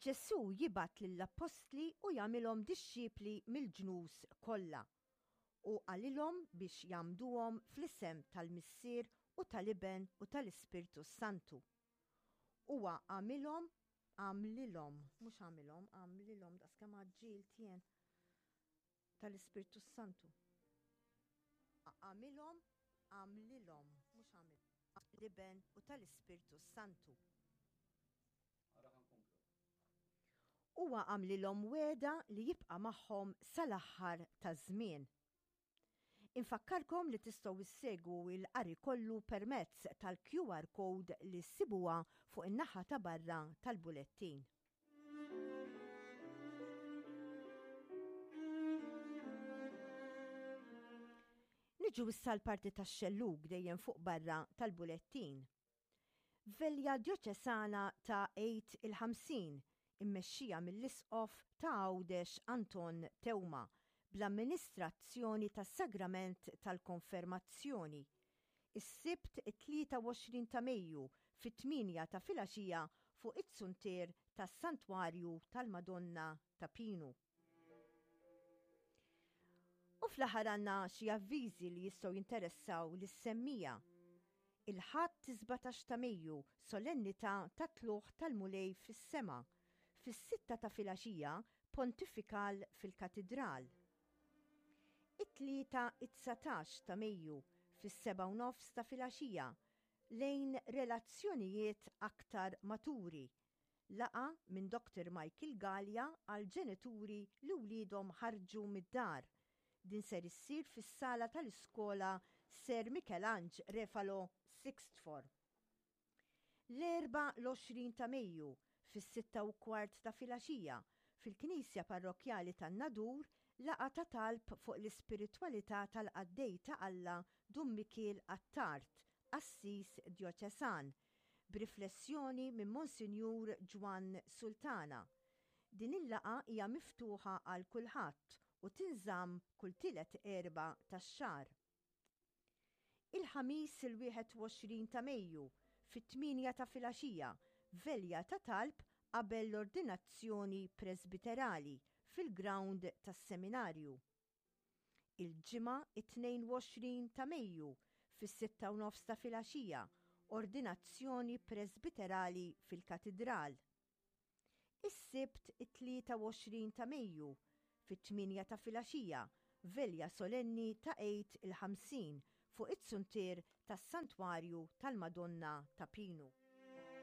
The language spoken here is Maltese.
Ġesù jibgħat lill-appostli u jagħmilhom dixxipli mill-ġnus kollha. U qalilhom biex jgħammduhom fl-isem tal-Missier u tal-Iben u tal-Ispirtu s-Santu. Huwa għamilhom, għamlilhom, mhux għamilhom, għamlilhom daqskemm għaġġilt jien, tal-Ispirtu s-Santu. Għamilhom, għamlilhom, mhux għamil, l-Iben u tal-Ispirtu s-Santu. Huwa għamlilhom wegħda li jibqa' magħhom sal-aħħar taż-żmien. Infakkarkom li tistgħu issegwu l-qari kollu permezz tal-QR code li ssibuha fuq in-naħa ta' barra tal-bulettin. Niġu issa l-parti tax-xellug dejjem fuq barra tal-bulettin. Velja Djoċesana ta' Għid il-50, immexxija mill-Isqof ta' Għawdex Anton Teuma, bl-amministrazzjoni tas-Sagrament tal-Konfermazzjoni, is-Sibt it-23 ta' Mejju fit-tmienja ta' filgħaxija fuq iz-zuntier tas-Santwarju tal-Madonna ta' Pinu. U fl-aħħar għandna xi avviżi li jistgħu jinteressaw lis-semmija. Il-Ħadd 17 ta' Mejju, solennità tat-Tlugħ tal-Mulej fis-Sema, fis-sitta ta' filgħaxija, pontifikal fil-Katidral. It-Tlieta it-19 ta' Mejju, fis-sebgħa u nofs ta' filgħaxija, lejn relazzjonijiet aktar maturi, Laqgħa minn Doctor Michael Galea għal ġenituri li wliedhom ħarġu mid-dar. Din ser issir fis-sala tal-iskola Sir Mikelanġ Refalo Sixth Form. L-Erbgħa l-20 ta' Mejju, fis-6:15 ta' filgħaxija, fil-Knisja Parrokkjali tan-Nadur, laqgħa ta' talb fuq l-ispiritwalità tal-qaddej ta' Alla Dun Mikiel Attard, qassis djoċesan, b'riflessjoni minn Monsinjur Ġwann Sultana. Din il-laqgħa hija miftuħa għal kulħadd u tinżamm kull tielet Erbgħa tax-xahar. Il-Ħamis il-21 ta' Mejju, fit-tmienja ta' filgħaxija, velja ta' talb qabel l-ordinazzjoni presbiterali fil-grawnd tas-Seminarju. Il-Ġimgħa it-22 ta' Mejju fis-sitta u nofs ta' filgħaxija, ordinazzjoni presbiterali fil-Katidral. Is-Sibt it-23 ta' Mejju fit-tmienja ta' filgħaxija, velja solenni ta' Għid il-50 fuq iz-zuntier tas-Santwarju tal-Madonna ta' Pinu.